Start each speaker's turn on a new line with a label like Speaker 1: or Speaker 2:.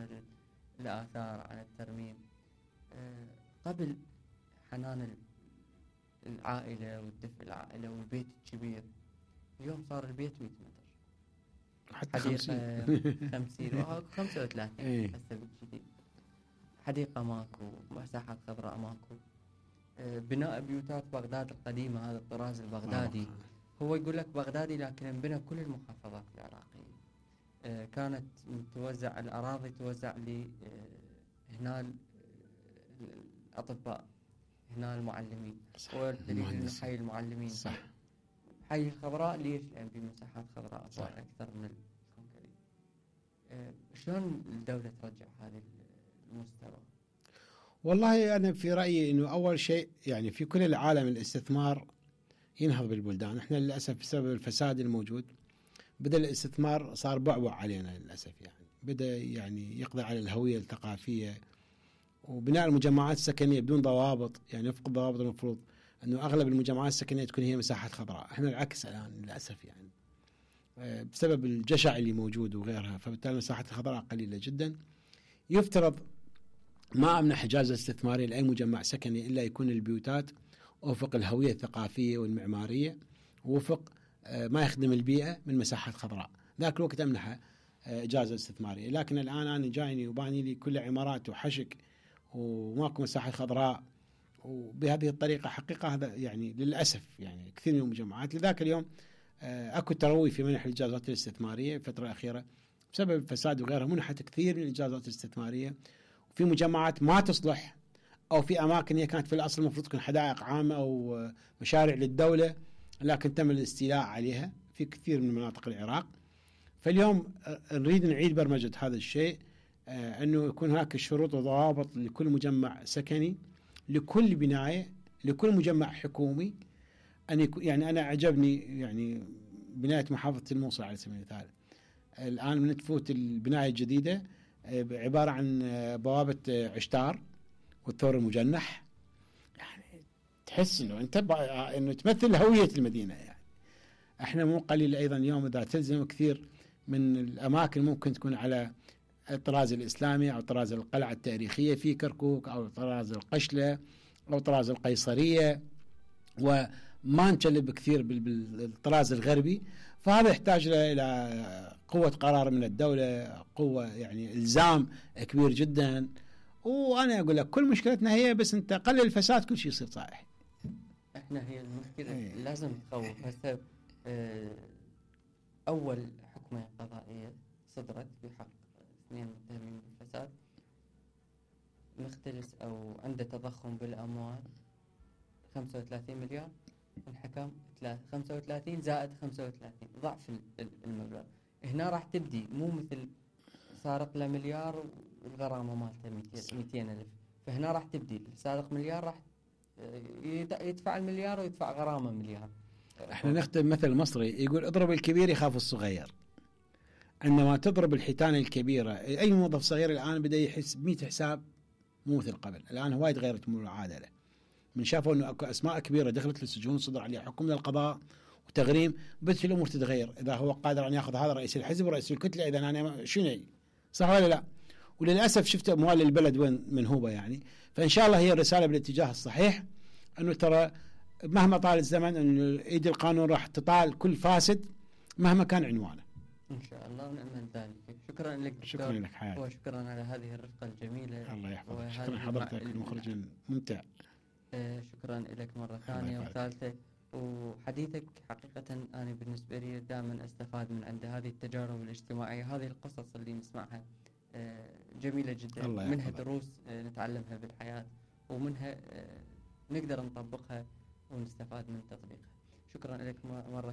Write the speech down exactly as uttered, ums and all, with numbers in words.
Speaker 1: على الآثار، على الترميم. قبل حنان العائلة والدفء العائلة والبيت الكبير، اليوم صار البيت مئة متر،
Speaker 2: حتى
Speaker 1: حديقة خمسين وخمسة وثلاثين هسه بالجديد، حديقة ماكو، مساحات خضراء ماكو. بناء بيوتات بغداد القديمة، هذا الطراز البغدادي، هو يقول لك بغدادي لكن انبنى كل المحافظات العراقية. كانت توزع الأراضي، توزع لي هنا الأطباء، هنا المعلمين، والدليل انه حي المعلمين
Speaker 2: صح.
Speaker 1: حي الخضراء ليش؟ لأن في مساحات خضراء صار أكثر من الكونكريت. شلون الدولة ترجع هذا المستوى؟
Speaker 2: والله أنا في رأيي أنه أول شيء يعني في كل العالم الاستثمار ينهض بالبلدان. احنا للأسف بسبب الفساد الموجود بدأ الاستثمار صار بعبع علينا للأسف، يعني بدأ يعني يقضي على الهوية الثقافية وبناء المجمعات السكنية بدون ضوابط، يعني وفق الضوابط المفروض أنه أغلب المجمعات السكنية تكون هي مساحات خضراء. احنا العكس الآن للأسف، يعني بسبب الجشع اللي موجود وغيرها، فبالتالي المساحات الخضراء قليلة جدا. يفترض ما أمنح إجازة استثمارية لأي مجمع سكني إلا يكون البيوتات وفق الهوية الثقافية والمعمارية ووفق ما يخدم البيئة من مساحات خضراء. ذاك الوقت أمنح إجازة استثمارية، لكن الآن أنا جايني وباني لي كل عمارات وحشك وماكو مساحة خضراء، وبهذه الطريقة حقيقة هذا يعني للأسف يعني كثير من المجمعات. لذاك اليوم أكو تروي في منح الإجازات الاستثمارية الفترة الأخيرة بسبب الفساد وغيرها، منحت كثير من الإجازات الاستثمارية، وفي مجمعات ما تصلح، أو في أماكن هي كانت في الأصل المفروض تكون حدائق عامة أو مشاريع للدولة، لكن تم الاستيلاء عليها في كثير من مناطق العراق. فاليوم نريد نعيد برمجة هذا الشيء، أنه يكون هناك شروط وضوابط لكل مجمع سكني، لكل بناية، لكل مجمع حكومي. أن يكون يعني أنا عجبني يعني بناية محافظة الموصل على سبيل المثال، الآن من تفوت البناية الجديدة عبارة عن بوابة عشتار والثور المجنح، يعني تحس إنه أنت إنه تمثل هوية المدينة. يعني إحنا مو قليل أيضا اليوم إذا تلزم كثير من الأماكن ممكن تكون على الطراز الإسلامي أو طراز القلعة التاريخية في كركوك أو طراز القشلة أو طراز القيصرية، وما نجلب كثير بالطراز الغربي. فهذا يحتاج إلى قوة قرار من الدولة، قوة يعني إلزام كبير جدا. وأنا أقول لك كل مشكلتنا هي بس أنت قلل الفساد كل شيء يصير صالح.
Speaker 1: إحنا هي المشكلة ايه. لازم نخوف. هسه أول حكمة قضائية صدرت بحق اثنين متهمين بالفساد، مختلس أو عنده تضخم بالأموال خمسة وثلاثين مليار، الحكم خمسة وثلاثين زائد خمسة وثلاثين ضعف المبلغ. هنا راح تبدي مو مثل سارق له مليار والغرامة مالته مئتين ألف، فهنا راح تبدي سارق مليار راح يدفع المليار ويدفع غرامة مليار.
Speaker 2: احنا نختم مثل مصري يقول اضرب الكبير يخاف الصغير. عندما تضرب الحيتان الكبيرة، أي موظف صغير الآن بدأ يحس بمئة حساب مو مثل قبل. الآن هواي تغيرت المعادلة، من شافوا أنه أكو أسماء كبيرة دخلت للسجون صدر عليها حكم للقضاء وتغريم، بدأت الأمور تتغير. إذا هو قادر أن يأخذ هذا رئيس الحزب ورئيس الكتلة، إذا أنا شنو صح ولا لا؟ وللأسف شفت أموال البلد وين منهوبة يعني. فإن شاء الله هي الرسالة بالاتجاه الصحيح، أنه ترى مهما طال الزمن أن إيد القانون راح تطال كل فاسد مهما كان عنوانه.
Speaker 1: إن شاء الله ونأمل ذلك. شكرا لك دكتور.
Speaker 2: شكرا لك حياتي.
Speaker 1: وشكرا على هذه الرفقة الجميلة.
Speaker 2: الله يحفظك. شكرا حضرتك المخرج الممتع.
Speaker 1: آه شكرا لك مرة ثانية وثالثة. وحديثك حقيقة أنا بالنسبة لي دائما أستفاد من عند هذه التجارب الاجتماعية، هذه القصص اللي نسمعها آه جميلة جدا، منها دروس آه نتعلمها بالحياة، ومنها آه نقدر نطبقها ونستفاد من تطبيقها. شكرا لك مرة